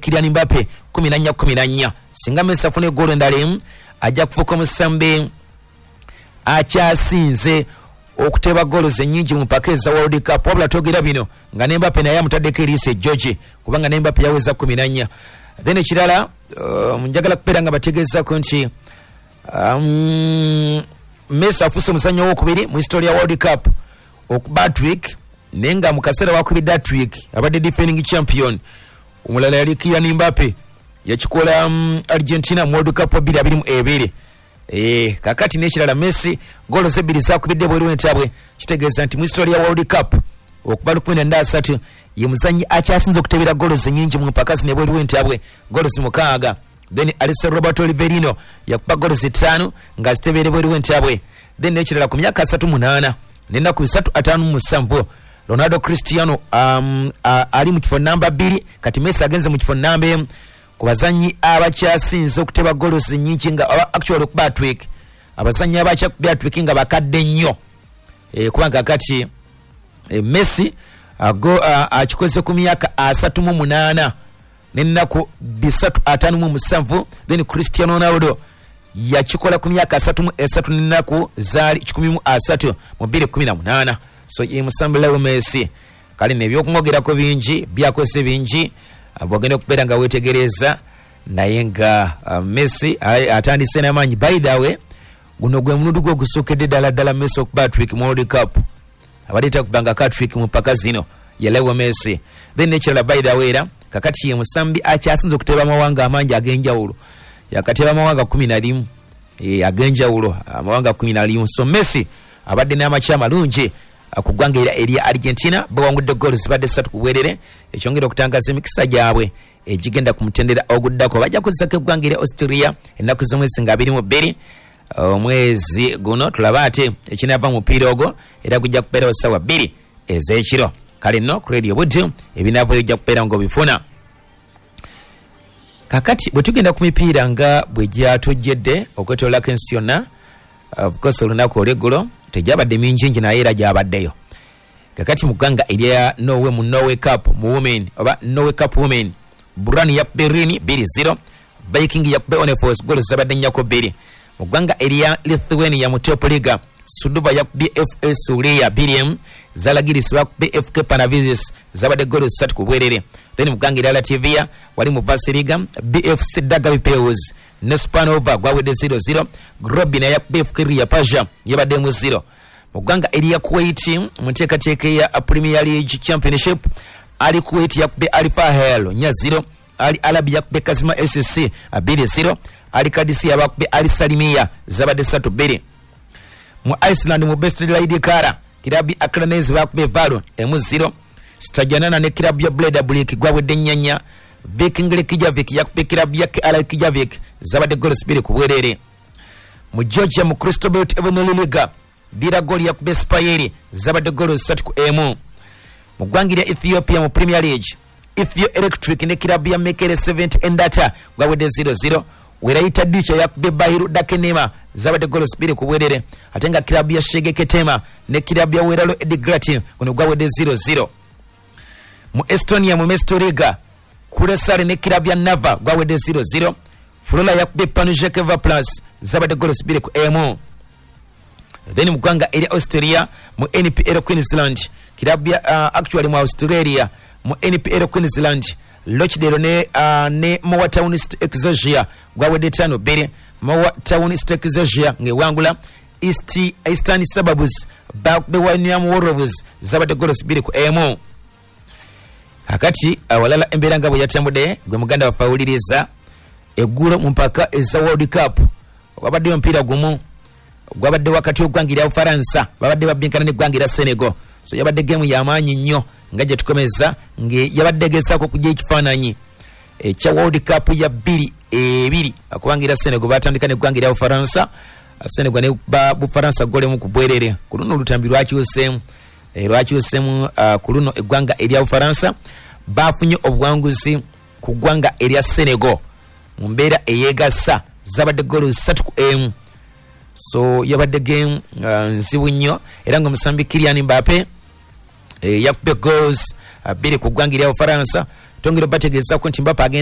Kylian Mbappe 14-14. Singa Messi afuna eggoolo endala emu, ajja kufuuka omusambi akyasinze okuteeba goals ennyingi mu mpaka eza World Cup. Wabula twogera bino nga ne Mbappe naye amutaddeko eriiso ejjogi, kubanga ne Mbappe yaweza 14. Then ekirala, njagala kubeera nga bategeezako nti Messi afuuse omuzannyo owokubiri mu history ya World Cup okuba hat-trick, naye nga mu kaseera wakubidde hat-trick abadde defending champion. Omulala yali Kylian Mbappe, yakikola Argentina mu World Cup 2022. Kakati n'ekirala, Messi goolo ze ebbiri zakubidde bweru w'entabwe, kitegeeza nti mu history ya World Cup okuva 1930 ye muzannyi akyasinze okutebera goolo ennyingi mu mpaka zino ebweru w'entabwe, goolo 6. Then Alessio Roberto Rivelino yakuba goolo 5 nga zitebeere bweru w'entabwe. Then n'ekirala, ku myaka 38 n'ennaku 357, Ronaldo Cristiano ali mu kifo namba 2. Kati Messi agenze mu kifo namba 1 ku bazannyi abakyasinze okuteba goals ennyingi nga actually okuba hat-trick, abazannyi abakyakubya hat-trick nga bakadde nnyo, kubanga kati Messi akikoze ku myaka 38 n'ennaku 357. Then Cristiano Ronaldo yakikola ku myaka 33 n'ennaku zaali 130 mu 2018. So ye musambi Leo Messi. Kale nebyokumwogerako bingi, byakoze bingi, bwogenda okubeera nga wetegereza. Naye nga Messi atandise n'amaanyi. By the way, guno gwe mulundi gwe ogusookedde ddala ddala Messi okuba hat-trick mu World Cup. Abadde takubanga hat-trick mu mpaka zino, ye Leo Messi. Then nekirala, by the way, era kakati ye musambi akyasinze okuteeba amawanga amangi ag'enjawulo, yakateeba amawanga 11 ag'enjawulo, amawanga 11. So Messi abadde n'amakya amalungi ku ggwanga era erya Argentina. Bawangudde goolo zibadde 3 ku bwerere, ekyongera okutangaza emikisa gyabwe egigenda ku mutendera oguddako. Bajja kuzzako eggwanga erya Austria ennaku z'omwezi nga 22 omwezi guno. Tulabe ate ekinaava mu mupiira ogwo, era gujja kubeerawo ssaawa 2 ez'ekiro. Kale nno ku Radio Buddu ebinaavayo ojja kubeera ng'obifuna. Kakati bwe tugenda ku mipiira nga bwe gyatujjedde okwetoololako ensi yonna, of course olunaku olw'eggulo tegyabadde mingingi, naye era gyabaddeyo. Kakati mu ggwanga erya Norway, mu Norway Cup mu women oba Norway Cup women, Brann yakubye Lyn 2-0, Viking yakubye Honefos, goolo zabadde 4-2. Mu ggwanga erya Lithuania mu Top Liga, Suduva yakubye FS Ulia 2-1, Zalagiris bakubye FK Panevėžys, zabadde goolo 3 ku bwerere. Then mu ggwanga erya Latvia, wali mu Liga, BFC Daugavpils ne Spanova gwawedde 0-0, Grobina yakubye FK Liepaja, yabadde mu 0. Mu ggwanga erya Kuwait mu nteekateeka eya Premier League Championship, Ali Kuwait yakubye Al Fahel 4-0, Ali Arabi yakubye Kazima SC 2-0, Ali Kadisia bakubye Ali Salimiya, zabadde 3-2. Mu Iceland mu Besta Kara, kirabu ya Akranes bakubye Valo 1-0, Stajanana ne kirabu ya Breidablik gwawedde 4-4, Viking Reykjavik yakubye kirabu ya KR Reykjavik, zabadde goals 2 ku bwerere. Mu Georgia mu Cristobal Evanoli Liga, Dira Gol yakubye Spayeri, zabadde goals 3-1. Mu ggwanga erya Ethiopia mu Premier League, Ethio Electric ne kirabu ya Mekele 70 Endata gwawedde 0-0, Werayita Dicha yakubye Bahiru Dakenema, zabadde goals 2 ku bwerere, ate nga kirabu ya Shege Ketema ne kirabu ya Weralo Edgrati guno gwawedde 0-0. Mu Estonia mu Mestoriga, Kuresare ne kirabu ya Nava gwawedde 0-0, Flora yakubye Panujekeva Plus, zabadde goals 2-1. Then mu ggwanga erya Australia mu NPL Queensland, kirabu ya actually mu Australia mu NPL Queensland, Rochdale ne Moortown Exosia gwawedde 5-2, Moortown Exosia ng'ewangula. Eastern Suburbs bakubye Wyndham Wolves, zabadde goals 2-1. Kakati awalala embeera nga bwe yatambudde, gwe muganda waffe awuliriza, eggulo mu mpaka eza World Cup wabaddeyo omupiira gumu gwabadde wakati w'eggwanga erya Bufaransa, babadde babbinkana n'eggwanga erya Senegal. So yabadde geemu y'amaanyi nnyo nga gye tukomeza, nga yabadde egezaako okujja ekifaananyi ekya World Cup ya 22, kubanga era Senegal batandika n'eggwanga erya Bufaransa. Senegal ne ba Bufaransa golemu ku bwerere. Ku luno olutambi lwakyuseemu, ku luno eggwanga erya Bufaransa bafunye obuwanguzi ku ggwanga erya Senegal mu mbeera eyeegasa, zabadde goolo 3-1. So yabadde game nzibu nnyo, era nga omusambi Kylian Mbappe yakubye goals 2 ku ggwanga erya Bufaransa. Twongera obategeezako nti Mbappe agenda